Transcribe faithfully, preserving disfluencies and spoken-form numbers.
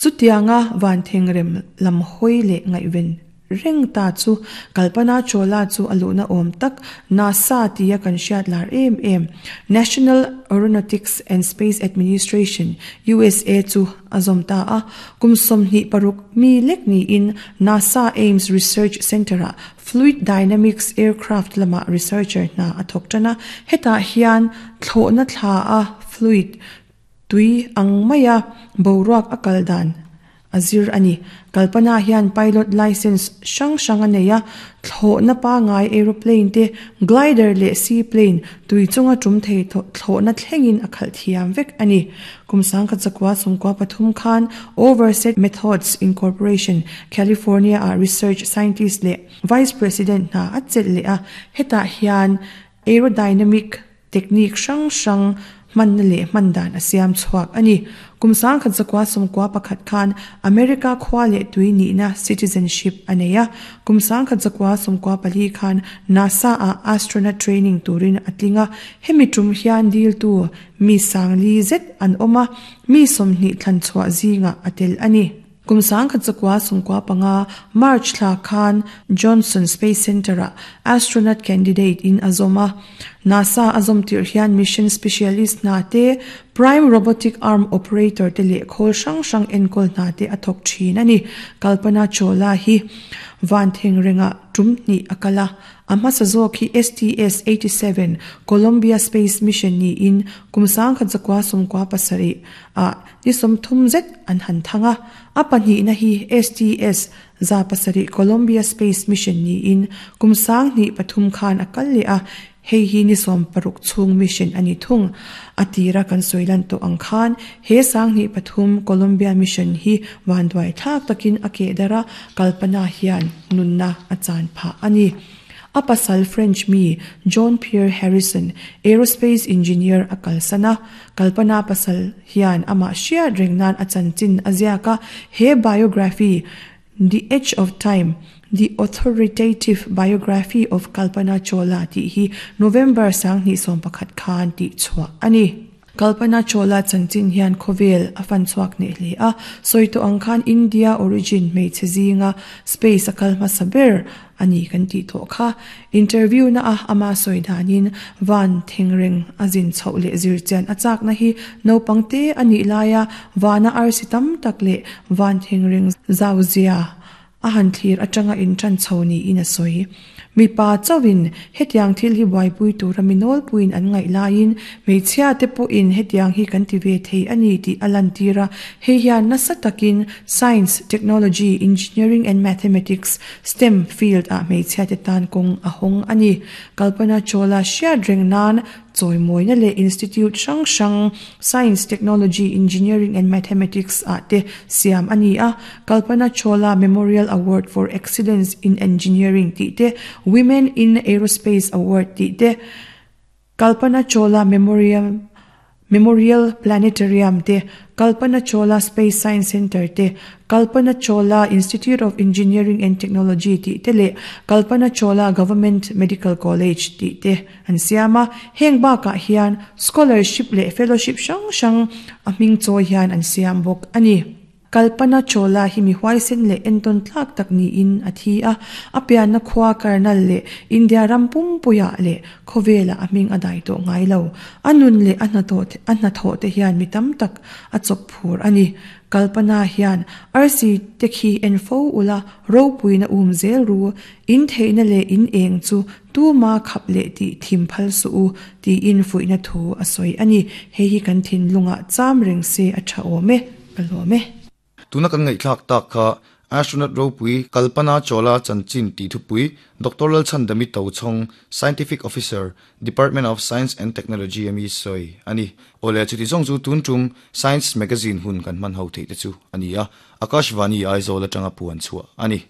Chutianga van thengrem lam hawi leh ngaihven reng ta chu Kalpana Chawla chu a luhna awm tak NASA tia kan hriat lar em em National Aeronautics and Space Administration, U S A chu a zawm ta a. Kum sawmhnih paruk mi lek niin NASA Ames Research Center-ah Fluid Dynamics Aircraft lama researcher hna a thawk tan a. Hetah hian thlawhna thla a fluid tui ang maia boruak a kal dan a zir a ni. Kalpana hian pilot license hrang hrang a nei a, thlawhna pangai aeroplane te, glider leh seaplane tui chunga tum thei thlawhna thlengin a khalh thiam vek a ni. Kum sangkhat zakua sawmkua pathum khan Overset Methods Incorporation, California a research scientist leh vice president hna a chelh leh a. Hetah hian aerodynamic technique hrang hrang hmanna leh hman dan a siam chhuak a ni. Kum sangkhat zakua sawmkua pakhat khan America khua leh tui nihna, citizenship, a nei a. Kum sangkhat zakua sawmkua pali khan NASA a astronaut training turin a tlinga. Hemi tum hian dil tu mi sangli zet an awm a, mi sawmhnih thlan chhuah zinga a tel a ni. Kum sangkhat zakua sawmkua panga March thla khan Johnson Space Center a astronaut candidate in a zawm a. NASA a zawm tir hian mission specialist hna te, prime robotic arm operator te leh khawl hrang hrang enkawl hna te a thawk thin a ni. Kalpana Chawla hi van thengrenga tum hnih a kal a. A hmasa zawk hi S T S eighty-seven Columbia Space Mission niin kum sangkhat zakua sawmkua pasarih a ni sawmthum zet an han thang a. A pahnihna hi S T S za pasarih Columbia Space Mission niin kum sang hnih pathum khan a kal leh a. Hei hi ni sawm paruk chhung mission ani thung. A tira kan sawilan tawh ang khan he sang hnih pathum Columbia mission hi vanduai thlak takin a keh dara, Kalpana hian nunna a chan phah ani. A pasal French mi John Pierre Harrison, aerospace engineer, a kalsana. Kalpana pasal hian ama hriat reng nan a chanchin a ziaka. He biography, "The Edge of Time: The Authoritative Biography of Kalpana Chawla" tih hi November sang hnih sawm pakhat khan tih chhuah ani. Kalpana Chawla chanchin hian khawvel a fan chhuak nei hle a. Sawi tawh ang khan India origin hmeichhe zinga space a kal hmasa ber ani kan tih tawh kha. Interview na a ama sawi danin van thengreng a zin chhoh leh zir chian a chak na hi naupang te ani laia vana arsi tam tak leh van thengreng zau zia a han thlir atanga in tran chho ni in a sawi. Mipa chawin hetiang thil hi buaipui tura minawl puin an ngaih laiin hmeichhia te pawhin hetiang hi kan ti ve thei ani tih a lan tira. Hei hian nasa takin science, technology, engineering and mathematics, STEM field ah hmeichhia te tan kawng a hawng ani. Kalpana Chawla hriat reng nan chawimawina leh institute hrang hrang science, technology, engineering and mathematics ah te siam ani a. Kalpana Chawla Memorial Award for Excellence in Engineering tih te, Women in Aerospace Award tih te, Kalpana Chawla Memorial Memorial Planetarium te, Kalpana Chawla Space Science Center te, Kalpana Chawla Institute of Engineering and Technology tih te leh Kalpana Chawla Government Medical College tih te an siam a. Heng bakah hian scholarship leh fellowship hrang hrang a hming chawi hian an siam bawk ani. Kalpana Chawla hi mi huaisen leh entawn tlak tak niin a thi a. A pianna khua Karnal leh India ram pumpuia leh khawvela a hming a dai tawh ngai lo. A nun leh a hnathawh a hnathawh te hian mi tam tak a chawk phur ani. Kalpana hian arsi te khi en fo ula, ropuina um zel ru, in theihna leh in eng chu tuma khap leh ti thim phal su u tiin fuihna thu a sawi ani. Hei hi kan thin lunga cham reng se a tha awm e. Ka lawm e. Tuna kan ngaihthlak tak kha astronaut ropui Kalpana Chawla chanchin ti thupui Doctor Lalchhandami Tochhawng, Scientific Officer, Department of Science and Technology ami sawi ani. Ole, chuti zawng chu tun tum Science Magazine hun kan hman ho thei te chu ani a. Akashvani Aizawl atanga puan chhuah ani.